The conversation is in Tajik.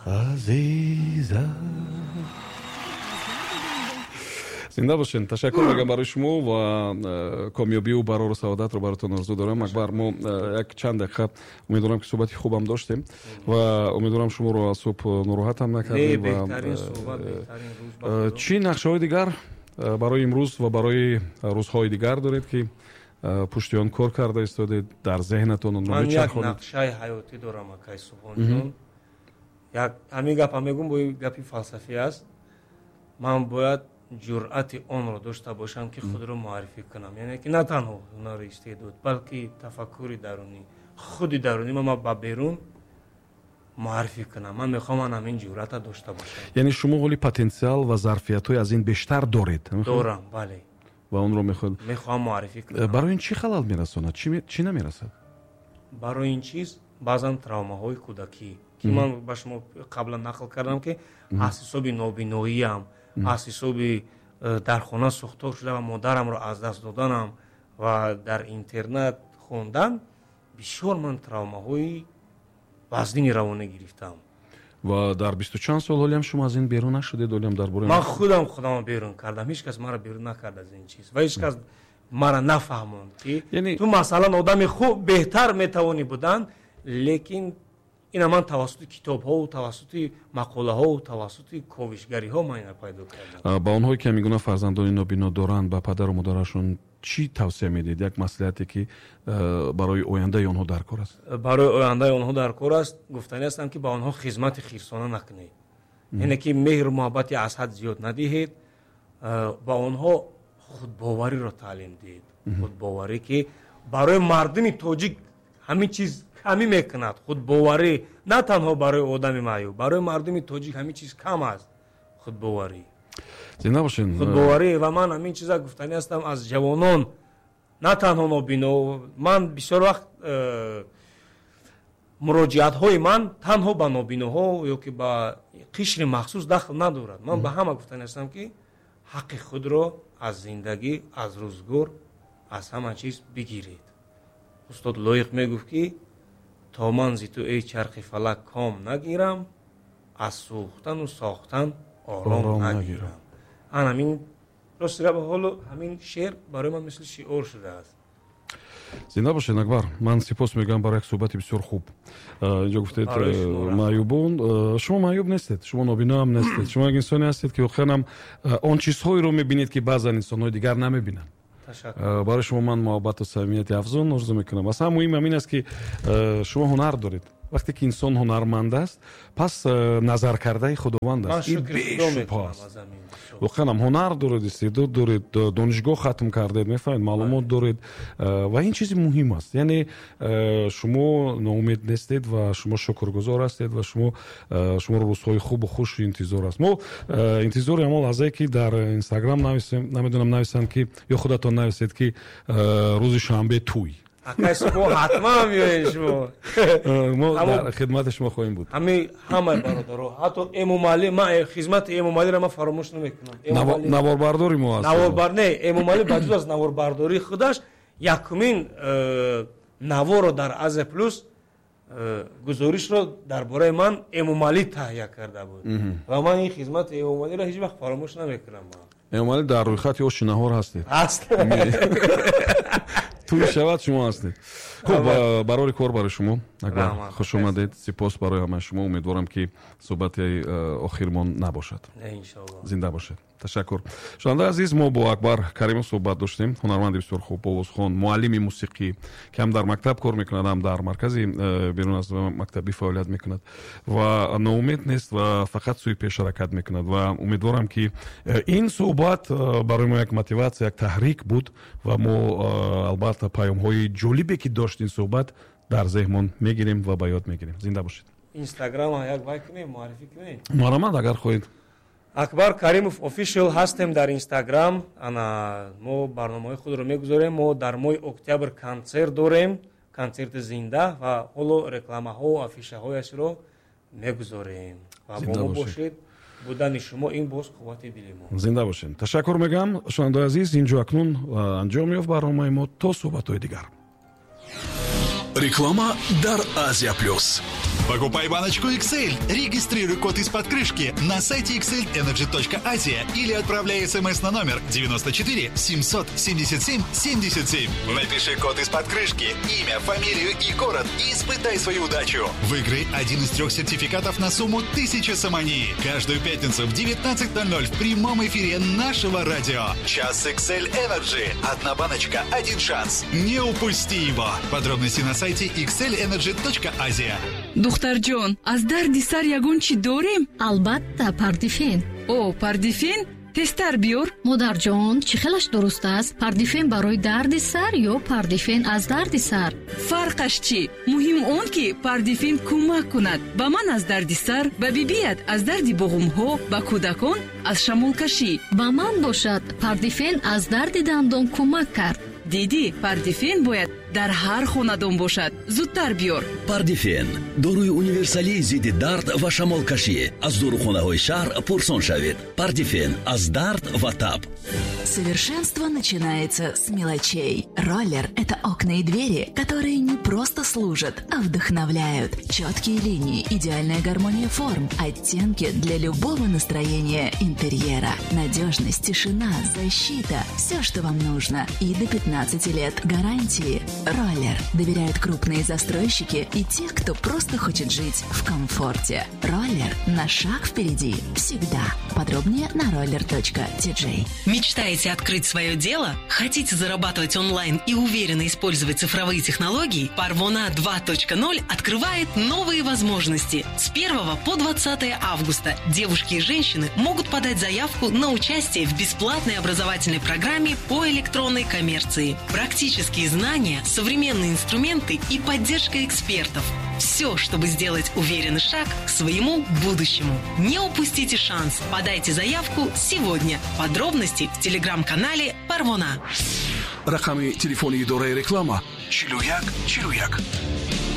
Азиза. Зинда бошед. Ташаккур мегӯям барои шумо ва комёбию барору саодатро баротон орзу дорам. Акбар, мо як чанд дақиқа, умедворам, ки суҳбати хубам доштем ва умедворам, шуморо аз субҳ нороҳатам накардем. Чӣ нақшаҳои дигар барои имрӯз ва барои рӯзҳои дигар доред, ки пушти он кор карда истодед, дар зеҳнатон онро Ман як нақшаи ҳаётӣ дорам, акай Субҳонҷон. Як ҳамин гапа мегӯм, бо гапи фалсафӣ аст. Ман бояд ҷуръати онро дошта бошам, ки худро муаррифӣ кунам, яъне ки на танҳо ҳунари истеъдод, балки тафаккури дарунӣ, худи дарунӣ ма ба берун муаррифӣ кунам. Ман мехоҳам ман ҳамин ҷуръата дошта бошам. Яъне шумо ҳоли потенсиал ва зарфиятҳои аз ин бештар доред? Дорам, бале. Ва онро мехоҳед Мехоҳам муаррифӣ кунам. Барои ин чӣ халал мерасонад, чӣ намерасад? Барои ин чиз баъзан травмаҳои кӯдакӣ, ки ман ба шумо қаблан нақл кардам, ки аз ҳисоби нобиноиям, аз ҳисоби дар хона сӯхтор шуда ва модарамро аз даст доданам ва дар интернат хондан, бисёр ман травмаҳои вазнини равонӣ гирифтам. Ва дар бисту чанд сол ҳолиам шумо аз ин берун нашудед, ҳолиам дар бораи Ман худам худамро берун кардам. Ҳеҷ кас маро берун накард аз ин чиз ва ҳеҷ кас маро нафаҳмонд, ки ту, масалан, одами хуб беҳтар метавонӣ будан. Лекин ина ман тавассути китобҳову тавассути мақолаҳову тавассути ковишгариҳо ман ина пайдо кардам. Ба онҳое, ки ҳамин гуна фарзандони нобино доранд, ба падару модарашон чӣ тавсия медиҳед, як маслиҳате, ки барои ояндаи онҳо дар кор аст? Барои ояндаи онҳо дар кор аст, гуфтанӣ ҳастам, ки ба онҳо хизмати хирсона накунед, яъне ки меҳру муҳаббати аз ҳад зиёд надиҳед. Ба онҳо худбовариро таълим диҳед, худбоварӣ, ки барои мардуми тоҷик ҳамин чиз камӣ мекунад. Худбоварӣ на танҳо барои одами маъюб, барои мардуми тоҷик ҳамин чиз кам аст, худбоварӣ. Зинда бошед. Худбоварӣ. Ва ман ҳамин чиза гуфтанӣ ҳастам аз ҷавонон, на танҳо нобино. Ман бисёр вақт муроҷиатҳои ман танҳо ба нобиноҳо ё ки ба қишри махсус дахл надорад. Ман ба ҳама гуфтанӣ ҳастам, ки ҳаққи худро аз зиндагӣ, аз рӯзгор, аз ҳама чиз бигиред. Устод Лоиқ мегуфт, ки то ман зи ту, эй чархи фалак, ком нагирам, аз сӯхтану сохтан ором нагирам. Ан ҳамин рости гап, ҳоло ҳамин шеър барои ман мисли шиор шудааст. Зинда бошед, Акбар. Ман сипос мегӯям барои як суҳбати бисёр хуб. Инҷо гуфтед маъюбон. Шумо маъюб нестед, шумо нобиноам нестед, шумо як инсоне ҳастед, ки воқеан он чизҳоеро мебинед, ки баъзан инсонҳои дигар намебинанд. Барои шумо ман муҳаббату самимияти афзун орзу мекунам. Аса муҳим ҳамин аст, ки шумо ҳунар доред. Вақте ки инсон ҳунарманд аст, пас назаркардаи Худованд аст. Ин бешубҳа аст. Воқеан ҳам ҳунар доред, истеъдод доред, донишгоҳ хатм кардед, мефаҳмед, маълумот доред ва ин чизи муҳим аст. Яъне шумо ноумед нестед ва шумо шукргузор ҳастед ва шуморо рӯзҳои хубу хуш интизор аст. Мо интизори ҳамон лаҳзае, ки дар Инстаграм нависем, намедонам, нависанд, ки ё худатон нависед, ки рӯзи шанбе тӯй. Акай Субҳон, ҳатман биёед шумо. Мо дар хидмати шумо хоҳем буд. Ҳамин ҳамаи бародаро, ҳатто Эмомалӣ. Ман хизмати Эмомалиро ман фаромӯш намекунам. Наворбардори мо аст. Наворбар не, Эмомалӣ ба ҷуз аз наворбардории худаш якумин наворро дар Азия Плюс, гузоришро дар бораи ман Эмомалӣ таҳия карда буд ва ман ин хизмати Эмомалиро ҳеҷ вақт фаромӯш намекунам. Эмомалӣ, дар рӯйхати оши наҳор ҳастед. Ҳаст. Тӯй шавад, шумо ҳастед. Хуб, барори кор барои шумо, Акбар, хуш омадед. Сипос барои ҳамаи шумо. Умедворам, ки суҳбати охирмон набошад. Зинда бошед, ташаккур. Шунавандаи азиз, мо бо Акбар Каримов суҳбат доштем, ҳунарманди бисёр хуб, овозхон, муаллими мусиқӣ, ки ҳам дар мактаб кор мекунад, ҳам дар маркази берун аз мактабӣ фаъолият мекунад ва ноумед нест ва фақат сӯи пеш ҳаракат мекунад. Ва умедворам, ки ин суҳбат барои мо як мотиватсия, як таҳрик буд ва мо албатта паёмҳои ҷолибе, ки дошт ин суҳбат, дар зеҳнмон мегирем ва ба ёд мегирем. Зинда бошед. Инстаграм як вай кунем, муаррифӣ кунем. Марҳамат, агар хоҳед. Акбар Каримов Official ҳастем дар Инстаграм. Ана мо барномаҳои худро мегузорем. Мо дар моҳи октябр консерт дорем, консерти зинда, ва ҳоло рекламаҳо, афишаҳояшро мегузорем ва бо мо бошед. Будани шумо ин боз қуввати дили мо. Зинда бошед, ташаккур мегӯям. Шунавандаои азиз, инҷо акнун анҷом ёфт барномаи мо. То суҳбатҳои дигар. Реклама дар Азия Плюс. Покупай баночку XL. Регистрируй код из-под крышки на сайте xlenergy.asia или отправляй смс на номер 94 777 77. Напиши код из-под крышки, имя, фамилию и город и испытай свою удачу. Выиграй один из трех сертификатов на сумму 1000 сомони. Каждую пятницу в 19:00 в прямом эфире нашего радио. Час XL Energy. Одна баночка, один шанс. Не упусти его. Подробности на сайте xlenergy.asia. Духтарҷон, аз дарди сар ягон чӣ дорем? Албатта, Пардифен. О, Пардифен, тезтар биёр. Модарҷон, чӣ хелаш дуруст аст? Пардифен барои дарди сар ё Пардифен аз дарди сар? Фарқаш чӣ? Муҳим он, ки Пардифен кӯмак кунад. Ба ман аз дарди сар, ба бибият аз дарди буғумҳо, ба кӯдакон аз шамолкашӣ. Ба ман бошад, Пардифен аз дарди дандон кӯмак кард. Дидӣ, Пардифен бояд дар ҳар хонадон бошад. Зудтар биёр. Пардифен — доруи универсалии зидди дард ва шамолкашӣ. Аз дорухонаҳои шаҳр пурсон шавед. Пардифен аз дард ва таб. Совершенство начинается с мелочей. Роллер – это окна и двери, которые не просто служат, а вдохновляют. Четкие линии, идеальная гармония форм, оттенки для любого настроения интерьера. Надежность, тишина, защита – все, что вам нужно. И до 15 лет гарантии. Роллер. Доверяют крупные застройщики и те, кто просто хочет жить в комфорте. Роллер на шаг впереди всегда. Подробнее на roller.tj. Мечтаете открыть свое дело? Хотите зарабатывать онлайн и уверенно использовать цифровые технологии? Парвона 2.0 открывает новые возможности. С 1 по 20 августа девушки и женщины могут подать заявку на участие в бесплатной образовательной программе по электронной коммерции. Практические знания, современные инструменты и поддержка экспертов. Все, чтобы сделать уверенный шаг к своему будущему. Не упустите шанс. Подайте заявку сегодня. Подробности в телеграм-канале Парвона. Рақами телефони идораи реклама: 41 41.